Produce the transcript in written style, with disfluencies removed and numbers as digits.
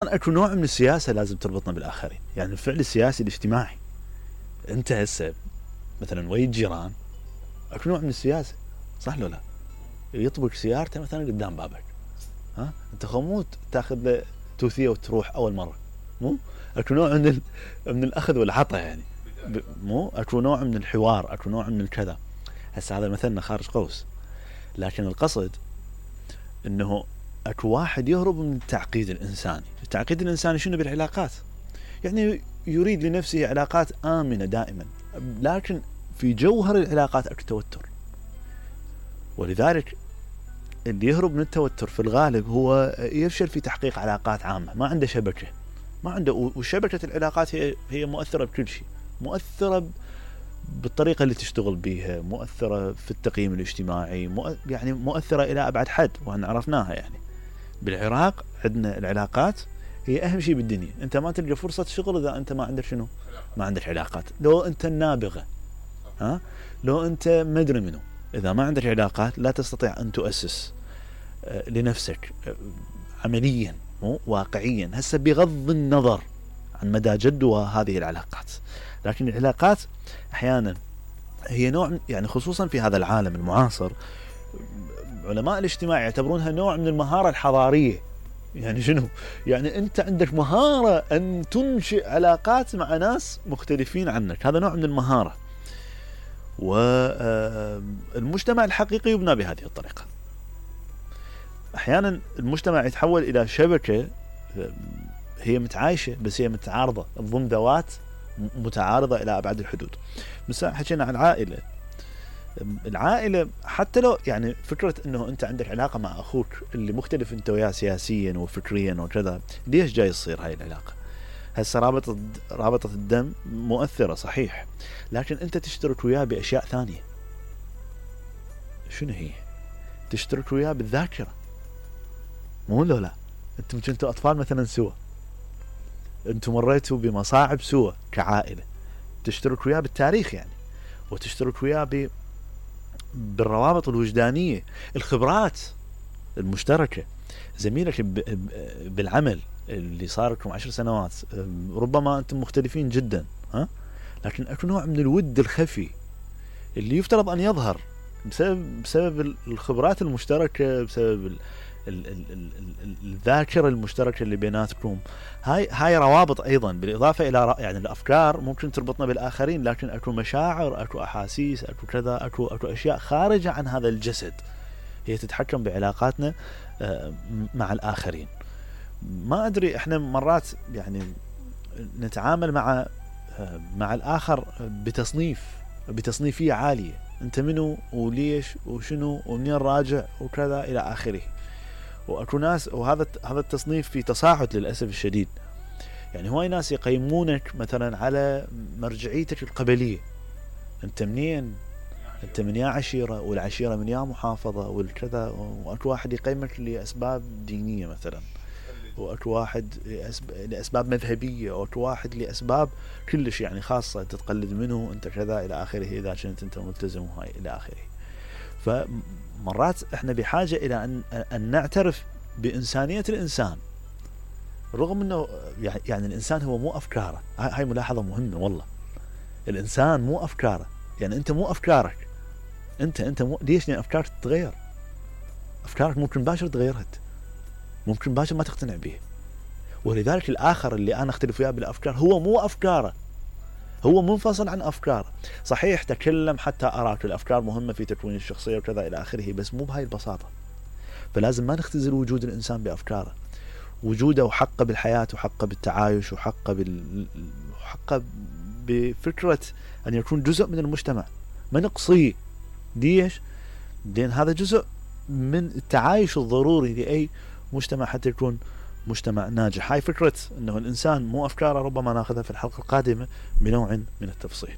ايضا اكو نوع من السياسه لازم تربطنا بالاخرين، يعني الفعل السياسي الاجتماعي. انت هسه مثلا ويا الجيران اكو نوع من السياسه، صح لو لا؟ يطبق سيارته مثلا قدام بابك، ها انت خموت تاخذ له توثيه وتروح اول مره، مو اكو نوع من الاخذ والعطاء يعني، مو اكو نوع من الحوار، اكو نوع من الكذا. هسه هذا مثلنا خارج قوس، لكن القصد انه اكو واحد يهرب من التعقيد الانساني. التعقيد الانساني شنو؟ بالعلاقات، يعني يريد لنفسه علاقات آمنة دائما، لكن في جوهر العلاقات اكو توتر. ولذلك اللي يهرب من التوتر في الغالب هو يفشل في تحقيق علاقات عامة، ما عنده شبكة، ما عنده. وشبكة العلاقات هي مؤثرة بكل شيء، مؤثرة بالطريقة اللي تشتغل بيها، مؤثرة في التقييم الاجتماعي، يعني مؤثرة إلى أبعد حد، وأن عرفناها. يعني بالعراق عندنا العلاقات هي أهم شيء بالدنيا. أنت ما تلقى فرصة شغل إذا أنت ما عندك شنو؟ ما عندك علاقات. لو أنت النابغة، ها، لو أنت مدري منه، إذا ما عندك علاقات لا تستطيع أن تؤسس لنفسك عمليا، مو واقعيا. هسه بغض النظر عن مدى جدوى هذه العلاقات، لكن العلاقات أحيانا هي نوع، يعني خصوصا في هذا العالم المعاصر، علماء الاجتماع يعتبرونها نوع من المهارة الحضارية. يعني شنو؟ يعني أنت عندك مهارة أن تنشئ علاقات مع ناس مختلفين عنك، هذا نوع من المهارة. والمجتمع الحقيقي يبنى بهذه الطريقة. أحيانا المجتمع يتحول إلى شبكة هي متعايشة بس هي متعارضة، تضم ذوات متعارضة إلى أبعد الحدود. مثلا حكينا عن العائلة حتى لو يعني فكرة أنه أنت عندك علاقة مع أخوك اللي مختلف أنت وياه سياسيا وفكريا وكذا، ليش جاي يصير هاي العلاقة؟ هسه رابطة الدم مؤثرة صحيح، لكن أنت تشترك وياه بأشياء ثانية. شنو هي؟ تشترك وياه بالذاكرة، مو لو لا؟ أنتم كنتوا أطفال مثلا سوا، أنتم مريتوا بمصاعب سوا كعائلة، تشترك وياه بالتاريخ يعني، وتشترك وياه بالروابط الوجدانية، الخبرات المشتركة. زميلك بالعمل اللي صار لكم 10 سنوات، ربما أنتم مختلفين جدا، ها، لكن أكو نوع من الود الخفي اللي يفترض أن يظهر بسبب الخبرات المشتركة، بسبب الذاكرة المشتركة اللي بيناتكم. هاي روابط أيضا، بالإضافة إلى يعني الأفكار ممكن تربطنا بالآخرين، لكن أكو مشاعر، أكو أحاسيس، أكو كذا، أكو أشياء خارجة عن هذا الجسد هي تتحكم بعلاقاتنا مع الآخرين. ما أدري، إحنا مرات يعني نتعامل مع الآخر بتصنيفية عالية، أنت منو وليش وشنو ومنين راجع وكذا إلى آخره. وأكو ناس، وهذا التصنيف في تصاعد للأسف الشديد. يعني هواي ناس يقيمونك مثلا على مرجعيتك القبلية، أنت منين، أنت من يا عشيرة، والعشيرة من يا محافظة والكذا. وأكو واحد يقيمك لأسباب دينية مثلا، وأكو واحد لأسباب مذهبية، وأكو واحد لأسباب كلش يعني خاصة، تتقلد منه أنت كذا إلى آخره، إذا كنت أنت ملتزم وهاي إلى آخره. فمرات إحنا بحاجة إلى أن نعترف بإنسانية الإنسان، رغم أنه يعني الإنسان هو مو أفكاره. هاي ملاحظة مهمة والله. الإنسان مو أفكاره، يعني أنت مو أفكارك، أنت مو. ليش؟ لأن أفكارك تتغير، أفكارك ممكن باشر تغيرت، ممكن باشر ما تقتنع به. ولذلك الآخر اللي أنا أختلف وياه بالأفكار هو مو أفكاره، هو منفصل عن أفكاره. صحيح تكلم حتى أراك، الأفكار مهمة في تكوين الشخصية وكذا إلى آخره، بس مو بهاي البساطة. فلازم ما نختزل وجود الإنسان بأفكاره، وجوده وحقه بالحياة، وحقه بالتعايش، وحقه بفكرة أن يكون جزء من المجتمع، ما نقصيه. ليش؟ لأن هذا جزء من التعايش الضروري لأي مجتمع حتى يكون مجتمع ناجح. هاي فكرة أنه الإنسان مو أفكاره ربما ناخذها في الحلقة القادمة بنوع من التفصيل.